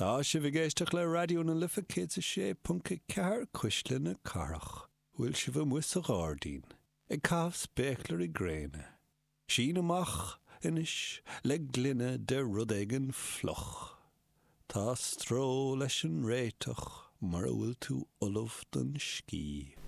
Tá sibh ag éisteacht le Raidió na Life 106.4, Cuisle na Cathrach. Bhfuil sibh amuigh sa ghairdín, ag caitheamh spéaclairí gréine? Sín amach anois le gloine de rud éigin fliuch. Tá stró leis an réiteach mura bhfuil tú ullamh don scíth.